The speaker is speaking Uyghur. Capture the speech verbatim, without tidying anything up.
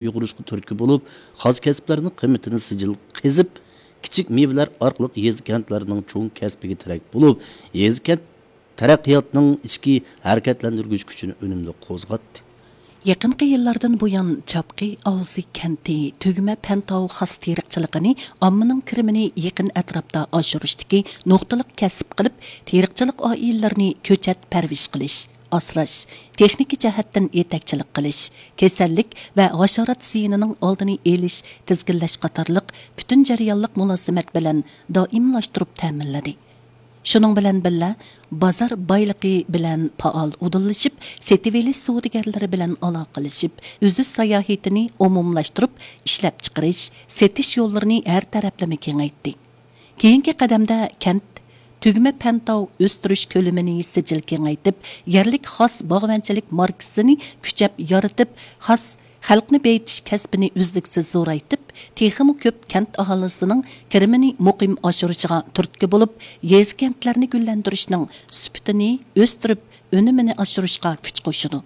ئۇيغۇرۇشقا تۈرتكە بولۇپ، خاس كەسىپلەرنىڭ قىممىتىنى سىجىل قېزىپ، كىچىك مېۋىلەر ئارقىلىق يېزا-كەنتلەرنىڭ چوڭ كەسپىگە تىرەك بولۇپ، يېزا-كەنت تەرەققىياتنىڭ ئىچكى ھەرىكەتلەندۈرگۈچ كۈچىنى ئۈنۈملۈك قوزغاتتى. يېقىنقى يىللاردىن بۇيان، چاپقى ئاۋزى كەنتى تۈگمە پەنتاۋ خاس تېرىقچىلىقىنى ئاممىنىڭ كىرىمىنى يېقىن ئەتراپتا ئاشۇرۇشتىكى نۇقتىلىق كەسىپ قىلىپ، تېرىقچىلىق ئائىلىلىرىنى كۆچەت پەرۋىش قىلىش، ئاسراش، تېخنىكا جەھەتتىن يېتەكچىلىك قىلىش، كېسەللىك ۋە ھاشارات زىيىنىنىڭ ئالدىنى ئېلىش، تىزگىنلەش قاتارلىق پۈتۈن جەريانلىق مۇلازىمەت بىلەن دائىملاشتۇرۇپ تەمىنلىدى. شۇنىڭ بىلەن بىللە، بازار بايلىقى بىلەن پائال ئۇدۇللىشىپ، سېتىۋېلىش سودىگەرلىرى بىلەن ئالاقىلىشىپ، ئۈزۈش ساياھىتىنى ئومۇملاشتۇرۇپ، ئىشلەپچىقىرىش، سېتىش يوللىرىنى ھەر تەرەپلىمە كېڭەيتتى. كېيىنكى قەدەمدە كەنت تۈگمە پەنتاۋ ئۆستۈرۈش كۆلىمىنى سىجىل كېڭەيتىپ، يەرلىك خاس باغۋەنچىلىك ماركىسىنى كۈچەپ يارىتىپ، خاس خەلقنى بېيىتىش كەسپىنى ئۈزلۈكسىز زورايتىپ، تېخىمۇ كۆپ كەنت ئاھالىسىنىڭ كىرىمىنى مۇقىم ئاشۇرۇشىغا تۈرتكە بولۇپ، يېزا-كەنتلەرنى گۈللەندۈرۈشنىڭ سۈپىتىنى ئۆستۈرۈپ، ئۈنۈمىنى ئاشۇرۇشقا كۈچ قوشىدۇ.